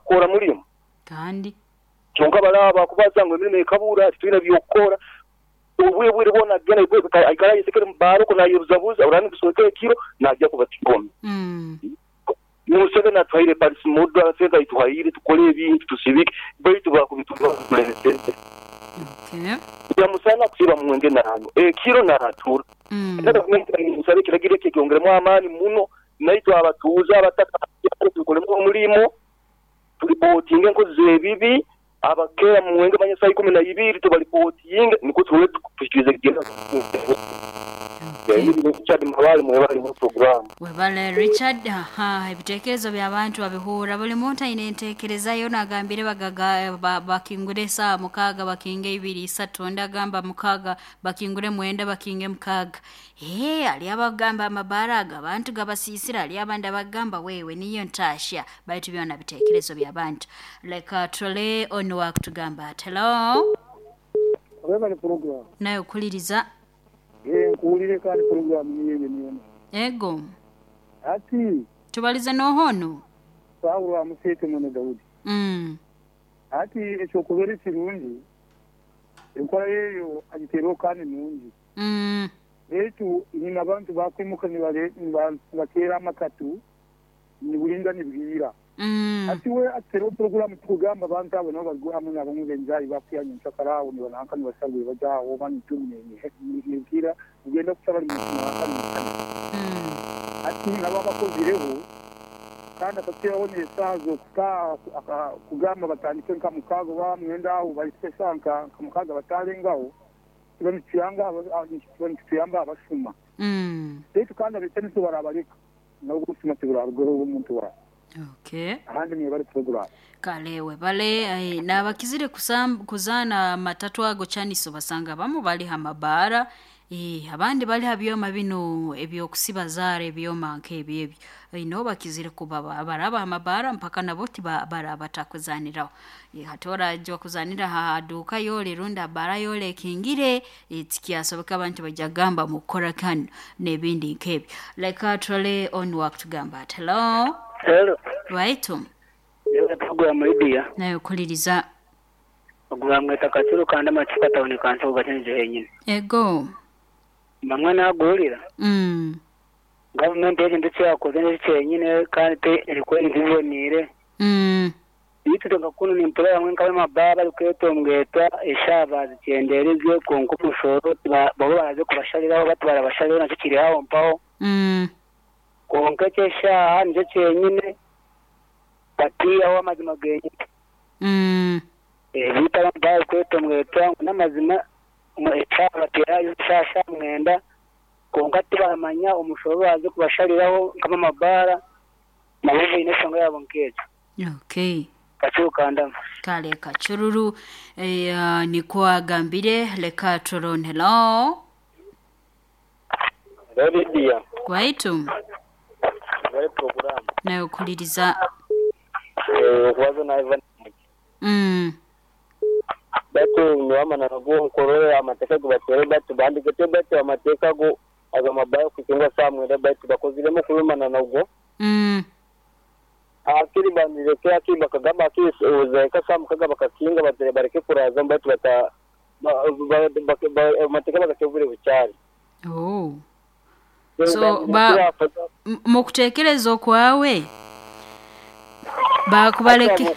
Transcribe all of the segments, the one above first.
kukora mulimo. Kandi. Kyonka bali abakubaza ngu emirimo ekabura, titwine by'okukora, obwire bwire bwona agenda aikara ayesekere mu bbaara okwo nayebuzabuza, oraba nibuswekera ekiro naija kuba kikome. Museveni atuhaire Paris Model, sente aituhaire tukole ebintu tusibike, baitu bakubitulemeseze. Nyamusana kusiiba mwenge nanywa, ekiro natura. Era gavumenti nemusaba ekiragiro ekyo ekyongeremu amaani muno, naitwe abatuuze abataka tukolemu omulimo, turipootinge enkozi z'ebibi, abakeera mu mwenge manya saaha ikumi na ibiri tubaripotinge nikwo tusobole tuhikirize ekigendererwa. Richard Mabale mwebale muno puroguraamu. Webale Richard. Aha, ebitekerezo by'abantu babihurra. Buli muntu aine entekereza ye. Onu agambire bagaga bakingure esaaha mukaaga bakinge ibiri isatu, ondi agamba mukaaga bakingure mwenda bakinge mukaaga. Eeh, hariyo abakugamba amabaara ago abantu gabasiisire, hariyo abandi abakugamba wewe niyo ntaahya. Baitu byona bitekerezo by'abantu. Leka turole onu owakutugamba ati, Hello? Webale puroguramu. Nawe kuhuliriza. Eeh nkuwulire kandi puroguramu niyo eyo niyo nungi. Ego. Hati. Tubalize nooha onu? Saulo amuseete mwene Daudi. Hati eky'okubeera ekirungi, enkora ye eyo agiteereho kandi nungi. Beitu nyine abantu baakwimuka nibateera amatatu niburinga nibwira. Hati we atuteereho puroguraamu tikugamba abantu abo nabo bari hamwe n'abamwe b'enjaayi bakwiha nyenkyakara aho nibananka nibasharwa baja aho oba nitumu nibwira nibwenda kukya bari munsi nanka nimusana. Hati nabo abakozireho kandi akatuteeraho n'esaaha z'okutaaha kugamba batandike nka mukaaga oba mwenda aho bahitsye eshaaha nka mukaaga batarengaho. Kiba nikituyamba abashuma. Beitu kandi abetenesi tibarabareka, nabwo obushuma tiburarugaho omuntu waawe. Okay. Ahandi mwebare puroguramu. Kale webale. Nabakizire kuzaana amatatu ago Chaniso basanga abamu bali ha mabaara, abandi bali ha byoma binu eby'okusiba zaara ebyoma nk'ebyo ebyo. Nabo bakizire kuba baraba ha mabaara mpaka nabo tibaraba batakuzaaniraho. Hati oraija kuzaanira ha duuka yoole rundi ha bbaara yoole ekingire, tikyasoboka abantu baija kugamba mukukora ki hanu n'ebindi nk'ebyo. Leka turole onu owakutugamba ati, Hello? Hello. Waitu? Yewe program Lydia. Nawe kuliriza. Ogu bamweta Kacuru kandi amacupa tawuni kansi ogu gakyenyize henyini. Ego. Bamwe naguhurira. Gavumenti ekintu eki yakoze nikyo kyenyine kandi te erikwe biboniire. Beitu itwe nka kunu nimpurira bamwe nk'ab'amabaara barikwetongwetwa eshaaha baazikyendeerize kwonka omushoro bo baraze kubashariraho bati barabashariraho nakyo kiri aho mpaho. Kwonka eky'eshaaha nikyo kyenyine batiihaho amazima genyine. Beitu abamwe barikwetongwetwa ngu n'amazima eshaaha bateerayo eshaaha shaaha mwenda kwonka tibaramanya omushoro obu baraze kubashariraho nk'ab'amabaara nabo baine enshonga yaabo nk'egyo. Okay. Kacuru kandama. Kale Kacururu eh, nikwo agambire leka turone. Hello. Hello Lydia. Waitu. Webale puroguramu. Nawe okuliriza. Eh, okubaza na Ivan Mugi. Batu nyowe amananu go nkorora amateka agu bateire batu bandikete batu amateka ago agamabayo kukinga saha mwenda baitu bakoziremu kubi mananu go. Hakiri bandireke hakiri bakagamba hakiri zahika saha mukaga bakakinga batire bareke kurazamu baitu bata amateka bagateho obwire bukyari. Oh. So ba mukutekereza okwawe bakubaleke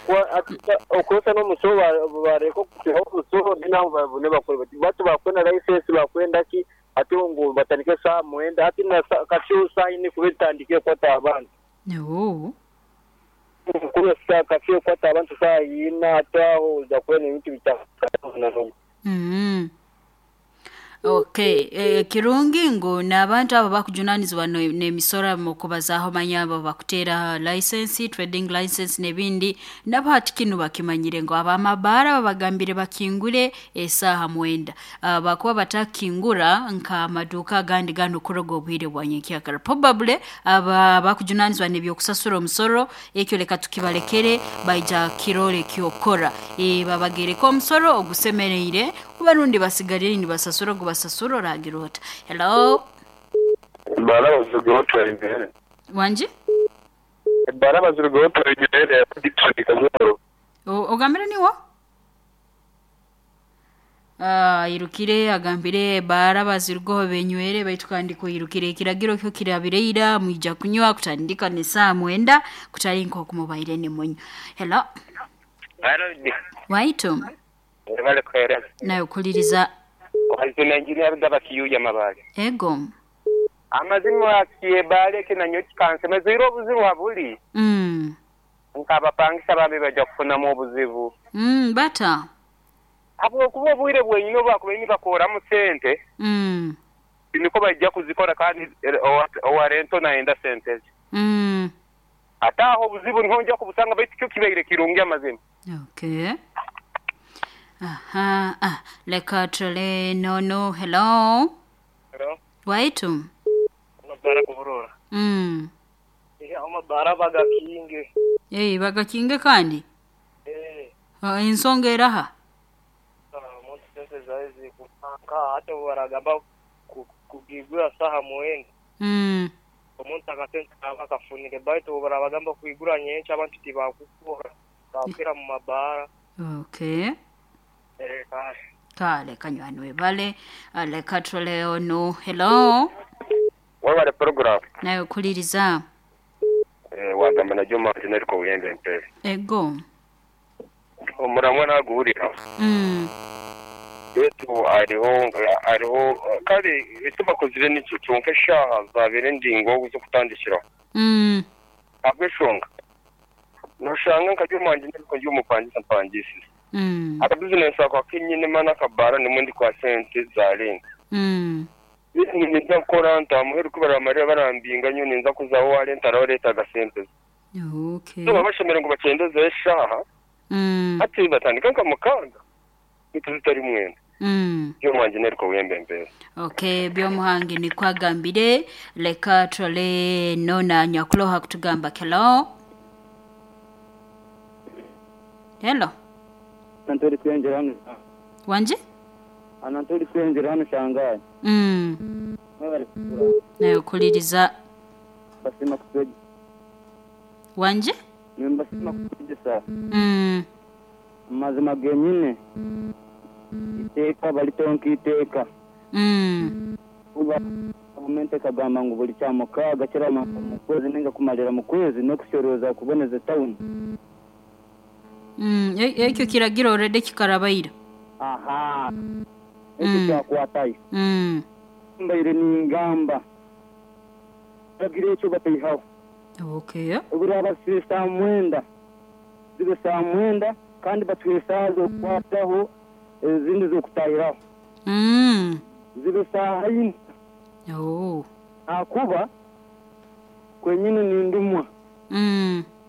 Okukozesa n'omusoro bareke okutwihaho omusoro then aho babone bakore bati batu bakwenda license bakwenda ki hati ngu batandike saaha mwenda hati na kafyu saaha ina ekuba etandikire kukwata abantu. Oh. Kafyu ekukwata abantu saaha ina hati aho oija kubona ebintu bitandika. Okay, eh, kirungi ngu n'abantu abo abakujunanizibwa n'emisoro mukubazaaho manya abo abakuteera license, trading license n'ebindi, nabo hati kinu bakimanyire ngu ab'amabaara babagambire bakingure esaaha mwenda. Ah, bakuba batakingura nk'amaduuka agandi ganu kuruga obwire bwa nyenkyakara. Probably aba abakujunanizibwa n'ebyokusasura omusoro, ekyo leka tukibalekere baija kirora eky'okukora. Eh, babagereke omusoro ogusemereire oba rundi basigalire nibasasura ogubasasura oragira ota. Hello? Bala bavuga batwara imbere. Wangi? Ebbaara bazirugaho tubegerere kajoro. Ogambire niwo? Airukire agambire ebbaara bazirugaho benywere baitu kandi kwirukire ekiragiro kyo kirabireira mwija kunywa kutandika n'esaaha 9 kutali nk'okumubaire nimunywa. Hello. Waitu. Bale kwere. Nayo kuliriza. Wazina engineer gaba kiyuya mabale. Ego. Amazima kiebale kinanyo kikansemeza iro obuzibu habuli. Nkabapangisa bambi bajja kufunamu obuzibu. Bata. Abo kuba obwire bwenyine bakubaini bakoramu sente. Niko bajja kuzikora kandi owarento naenda sente. Ataho obuzibu nonja kubusanga baitu kyo kibaire kirungi amazima. Okay. Aha, leka tule nono. Hello. Hello. Waitu. Mabara kuburora. Amabara bagakinge. Bagakinge kandi? Ensonga eraha? Muntu sente zaizi kupanka hata baragamba kugigura saha muwenda. Omuntu akasente akafunire baitu barabagamba kuigura nyencha abantu tibakukora. Bakira mu mabara. Okay. Kale kanywanwe bale leka tule ono. Hello. Wabale program. Nayo kuliriza. Wagamba na Juma General Uyembe Mpere. Ego. Omuramwa naguhurira. Yetu ariho kale etubakozire n'icyo cyonka shaha zabere ndingo zo kutandikira. Abweshonga. Noshanga nka Juma General y'umupangisa mpangisi. Aka business akwa kinyine mana kabara nimundi kwa sente zarenga. Ninza gukora ntamuheru kubara Mariya barambinga nyo ninza kuzaho wale ntaraho leta agasente. Okay. So babashemere ngo bakendeze eshaha. Ati batandika nka mukanga. Bitari mwenda. Byo mwanje neriko wembe mbere. Okay, byo muhangi ni kwagambire leka tole nona nyakuloha kutugamba. Hello. Hello. Antori kwenjera hano. Wanje? Antori kwenjera hano shangaye. Nayo kuliriza. Basima kupeji. Wanje? Nimbasima kujisa. Mazima genyine. Iteka balitonki iteka. Uba gavumenti kagamba ngu buli kyamukaga kirama mu kwezi ninga kumalira mu kwezi no kushoroza kuboneza town. Ekyo kiragiro already kikarabaira. Aha. Ekyo kyakwatayo. Mbaire ningamba. Kiragiro ekyo batayihaho. Okay. Obura saa 9. Zibe saa 9 kandi batuhe saa zokukwataho ezindi zokutahiraho. Zibe saa 4. Oh. Akuba kwenyine nindumwa.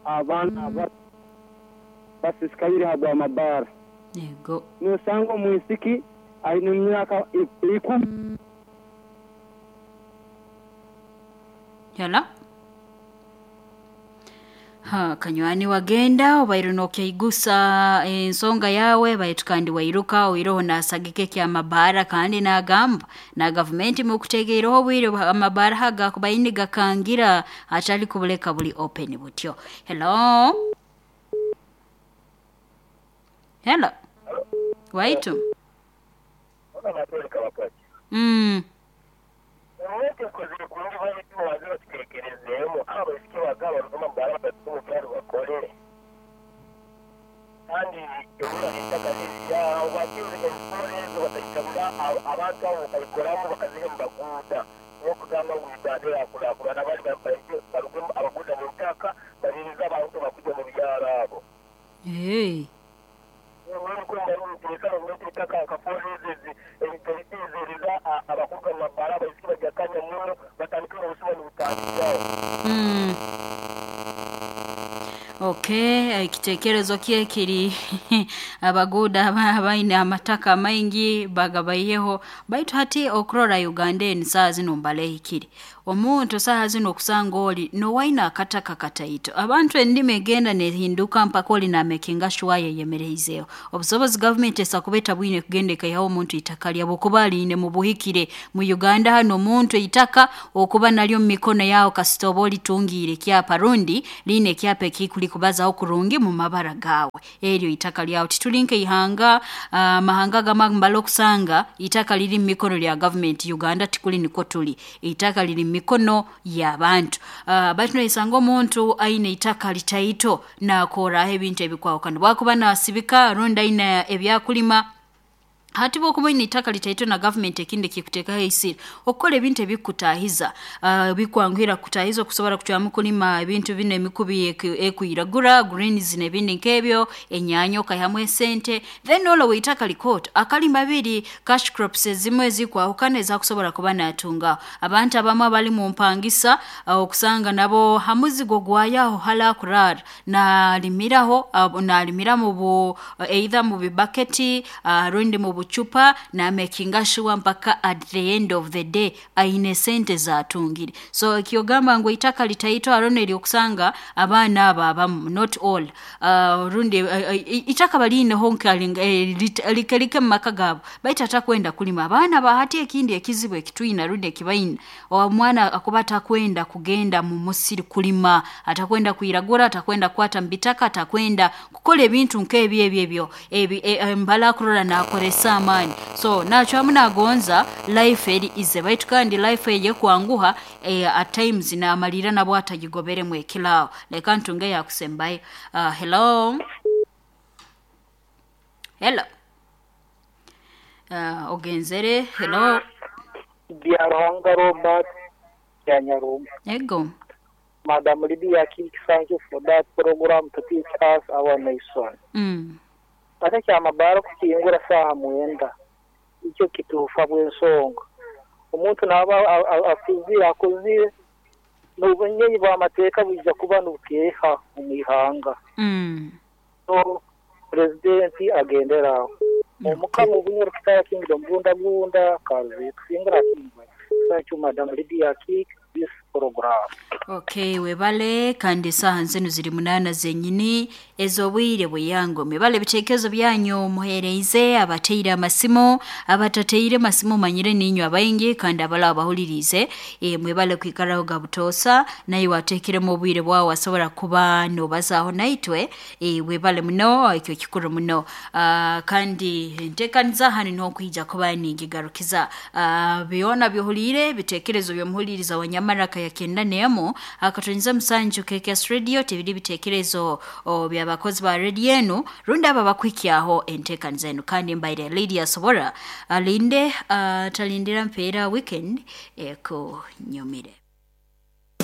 Abana basisikaire habwa mabara. Yego. Nosanga omwisiki aine emyaka 10. Hello. Ha, kanywani wagenda obaire nokyaigusa ensonga yawe baitu kandi wairuka oiroho nasagike kya mabara kandi nagamba na gavumenti mukutegeereho obwire amabara haga kubaini gakangira atali kubuleka buli open butyo. Hello. Hello. Waitu. Hey. Okay, ekitekerezo kye kiri abaguda abaine amataka maingi bagabaiyeho baitu hati okurora Uganda eni saa zino mbale hikiri. Omuntu saha zino okusanga oli nowaina akataka kataito. Abantu endimi egenda nehinduka mpaka oli namekinga sure yeyemereizeho. Obusobozi gavumenti esa kuba etabwine kugenda ekaihaho omuntu itaka lyabo okuba aliine mu buhikire. Mu Uganda hano omuntu itaka okuba nalyo mu mikono yawe kasita oba olitungiire ekyapa rundi liine ekyapa ekikuli kubazaho kurungi mu mabara gawe. Eryo itaka lyawe tituli nk'eihanga, amahanga gamwe mbala okusanga itaka liri mu mikono lya gavumenti. Uganda tikuli nikwo tuli. Itaka liri mu mikono y'abantu. Baitu noisanga omuntu aine itaka litaito nakoraho ebintu ebikwahukana. Bwakuba nasibika rundi aine ebyakulima. Hati bwokuba oine itaka litaito na gavumenti ekindi ekikuteekaho eisiri okukora ebintu ebikutahiza, bikwanguhira kutahiza okusobora kucwamu kulima ebintu binu emikubi ekwiragura greens n'ebindi nk'ebyo, enyaanya okaihamu esente. Then olowe itaka likooto akalima biri cash crops ezimu ezikwahukana ezakusobora kuba natungaho. Abantu abamu abali mu mpangisa, okusanga nabo ha muzigo gwayaho hala akurara nalimiraho, nalimira mu bu either mu bibaketi, rundi mu bucupa, namekinga sure mpaka at the end of the day aine sente zatungire. So ekyogamba ngu itaka litaito haroho eryokusanga abaana abo abamu, not all, rundi itaka baliineho like like mu maka gaabo, baitu atakwenda kulima. Abaana ba hati ekindi ekizibu ekitwina rundi ekibaina, omwana akuba atakwenda kugenda mu musiri kulima, atakwenda kwiragura, atakwenda kukwata mu bitaka, atakwenda kukora ebintu nk'ebyo ebyo ebyo ebi mbala akurora nakoresa amaani. So nacwamu nagonza life eri easy, baitu kandi life eye kwanguha, at times namalira nabwo atagigoberemu ekilaawo. Leka ntunge yakusembayo. Hello. Hello. Ogenzere. Hello. Byaruhanga Robert Byanyarumba. Ego. Madam Lydia King, thank you for that program to teach us our nation. Ate kyamabara kukingura saha 9 icyo kituufa bw'ensonga. Omuntu naba akuzire akozire n'obunyenyi bw'amateeka bwija kuba nibukeeha omu ihanga. So purezidenti agendera aho. Omukama Obunyoro Kitara Kingdom Bunda Bunda Karuzi Tusingura Kingwe. Thank you Madam Lydia King this program. Okay, webale kandi saha nzinu ziri 8 zenyini ez'obwire bweyango. Mwebale ebitekerezo byanyu muhereize abateire amasimu, abatateire masimu manyire ninywe abaingi kandi abala abahulirize. Mwebale kwikaraho gabutosa naye watekiremu obwire bwawe wasobora kuba nobazaho naitwe. Webale muno ekyo kikuru muno. Kandi ntekaniza hano niho kwija kuba ningigarukiza. Byona byohulire bitekerezo byomuhuliriza wanyamaraka yakenda nemo akatonyeza musanju KKS Radio tibiri bitekerezo by'abakozi ba radio enu rundi aba bakwikyaho entekaniza enu. Kandi mbaire Lydia Sobora alinde talindira mpeera weekend eko nyumire.